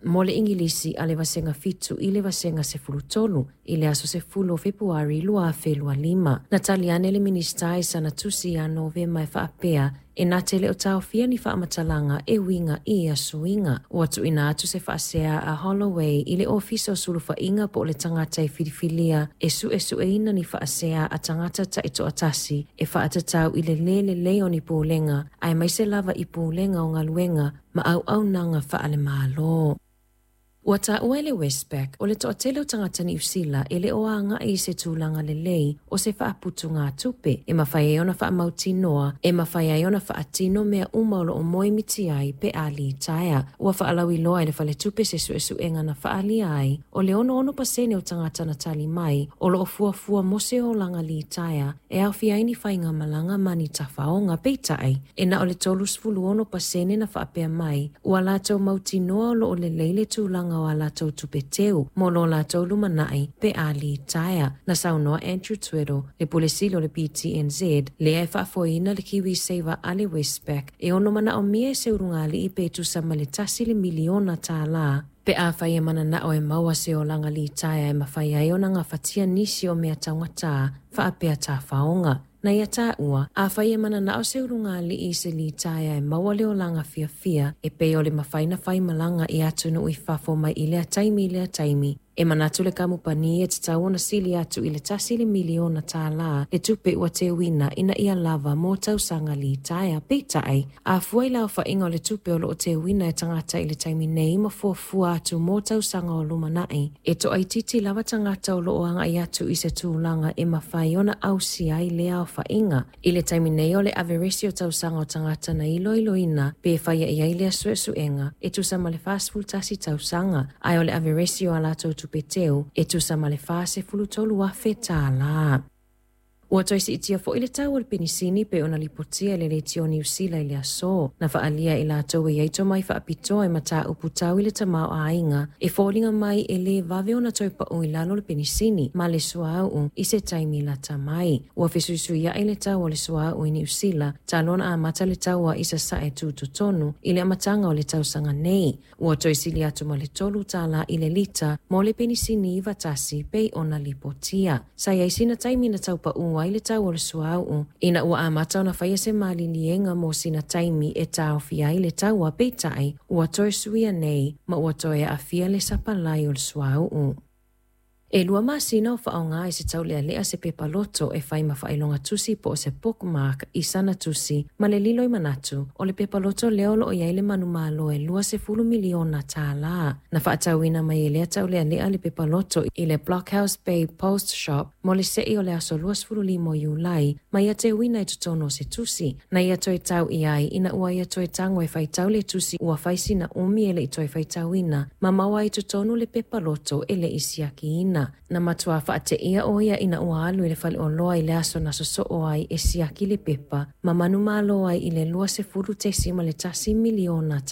Mo le Igilisi a le Vasega 7 i le Vasega 13 i le aso 10 o Fepuari 2025. Na tali ane le Minisita i sana tusi ia Novema e faapea, e na te le o taofia ni faamatalaga e uiga i ia suiga. Ua tuuina atu se faasea a Holloway i le Ofisa o Sulufaiga po o le tagata e filifilia e suesueina ni faasea a tagata taitoatasi e faatatau i le lē lelei o ni pulega, aemaise lava i pulega o galuega ma auaunaga faale-Malo. Ua taua e le Westpac o le toatele o tagata Niu Sila e le o agai i se tulaga lelei o se faaputugatupe e mafai ai ona faamautinoa e mafai ai ona faatino mea uma o lo o moemiti ai pe a litaea. Ua faalauiloa e le faletupe se suesuega na faaalia ai o le 66% o tagata na tali mai o lo o fuafua mo se olaga litaea e aofia ai ni faigamalaga ma ni tafaoga. Peitai, e na o le 36% na faapea mai ua latou mautinoa o lo o lelei le tulaga o a latou tupe teu mo lo latou lumanai pe a litaea. Na saunoa Andrew Tweddle, le Pule Sili o le PTNZ, lea e faafoeina le KiwiSaver a le Westpac, e ono manaomia e se ulugalii pe tusa ma le $1 miliona pe afai e mananao e maua se olaga litaea e mafai ai ona gafatia nisi o mea taugatā faapea tafaoga. Na ia taua, afai e mananao se ulugalii i se litaea e maua le olaga fiafia e pei o le mafai ona faimalaga i atunuu i fafo mai i lea taimi i lea taimi, e manatu le kamupani e tatau ona sili atu i le $1 miliona le tupe ua teuina ina ia lava mo tausaga litaea. Peitai, a fua i le aofaiga o le tupe o lo o teuina e tagata i le taimi nei ma fuafua atu mo tausaga o lumanai, e toaitiiti lava tagata o lo o agai atu i se tulaga e mafai ona ausia ai lea aofaiga. I le taimi nei o le averesi o tausaga o tagata na iloiloina pe faia i ai lea suesuega e tusa ma le 41 tausaga, ae o le averesi o a latou tupe teu e tusa ma le $43,000. Ua toe siitia foi le tau o le penisini pei ona lipotia e le Leitio Niu Sila i le aso. Na faaalia e latou e i ai tomai faapitoa i mataupu tau i le tamaoaiga e foliga mai e lē vave ona toe pau i lalo le penisini ma le suauu i se taimi lata mai. Ua fesuisuiai le tau o le suauu i Niu Sila talu ona amata le taua i sasae tutotonu i le amataga o le tausaga nei. Ua toe sili atu ma le $3 i le lita mo le penisini 91 pei ona lipotia. Sa i ai sina taimi na tau pau ai le tau o le suauu ina ua amata ona faia se maliliega mo sina taimi e taofia ai le taua, peitai ua toe suia nei ma ua toe aafia le sapalai o le suauu. E 2 masina o faaaoga i se taulealea se pepa loto e fai ma faailoga tusi po o se bookmark i sana tusi ma le lilo i manatu o le pepa loto lea o lo o i ai le manumalo e $20 miliona. Na faatauina mai e lea taulealea le pepa loto i le Blockhouse Bay Post Shop mo le sei o le aso 25 o Iulai ma ia teuina i totonu o se tusi. Na ia toe tau i ai ina ua ia toe tago e faitau le tusi ua fai sina umi e le i toe faitauina ma maua ai totonu le pepa loto e le i siakiina. Na matua faateia o ia ina ua alu i le faleoloa i le aso na sosoo ai e siaki le pepa ma manumalo ai i le $20.1 miliona.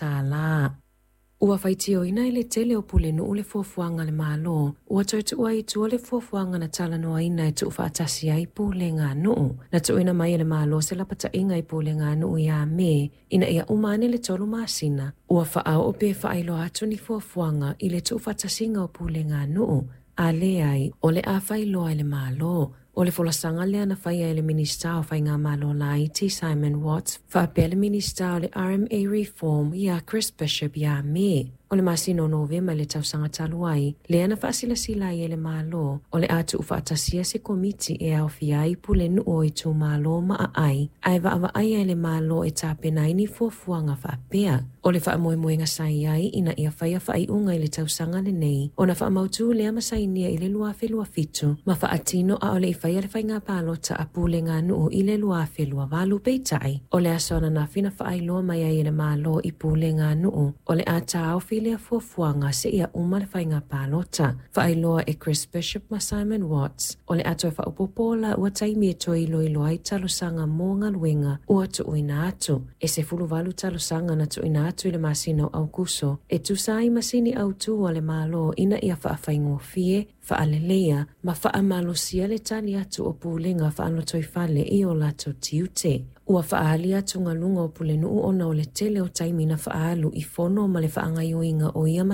Ua faitioina e le tele o pulenuu le fuafuaga a le Malo ua toe tuu ai i tua le fuafuaga na talanoaina e tuufaatasi ai pulega a nuu. Na tuuina mai e le Malo se lapataiga i pulega a nuu ia Me ina ia uma ane le 3 masina ua faaoo pe faailoa atu ni fuafuaga i le tuufaatasiga o pulega a nuu, a leai o le a faailoa e le Malo. O le folasaga lea na faia e le Minisita o Faigamalo Laiti Simon Watts faapea le Minisita o le RMA Reform ia Chris Bishop ia Me. O le masina o Novema i le tausaga talu ai, lea na faasilasila ai e le Malo o le a tuufaatasia se komiti e aofia ai pulenuu o itumalo ma aai, ae vaavaaia e le Malo e tapena ai ni fuafuaga faapea. O le faamoemoega sa i ai ina ia faia faaiuga i le tausaga lenei ona faamautu lea ma sainia i le 2027 ma faatino a o le i faia le faiga palota a pulega nuu i le 2028. Peitai, o le aso ananafi na faailoa mai ai e le Malo i pulega a nuu o le a taofi lea fuafuaga seia uma le faiga palota. Faailoa e Chris Bishop ma Simon Watts o le a toe faaopoopo laua taimi e toe iloilo ai talosaga mo galuega ua tuuina atu. E 18 talosaga na tuuina atu i le masina o Aukuso e tusa ai masini autū a le Malo ina ia faafaigofie, faaleleia ma faamalosia le tali atu o pulega faalotoifale i o latou tiute. Ua faaali atugaluga o pulenuu ona o le tele o taimi na faaalu i fono ma le faagaoioiga o ia.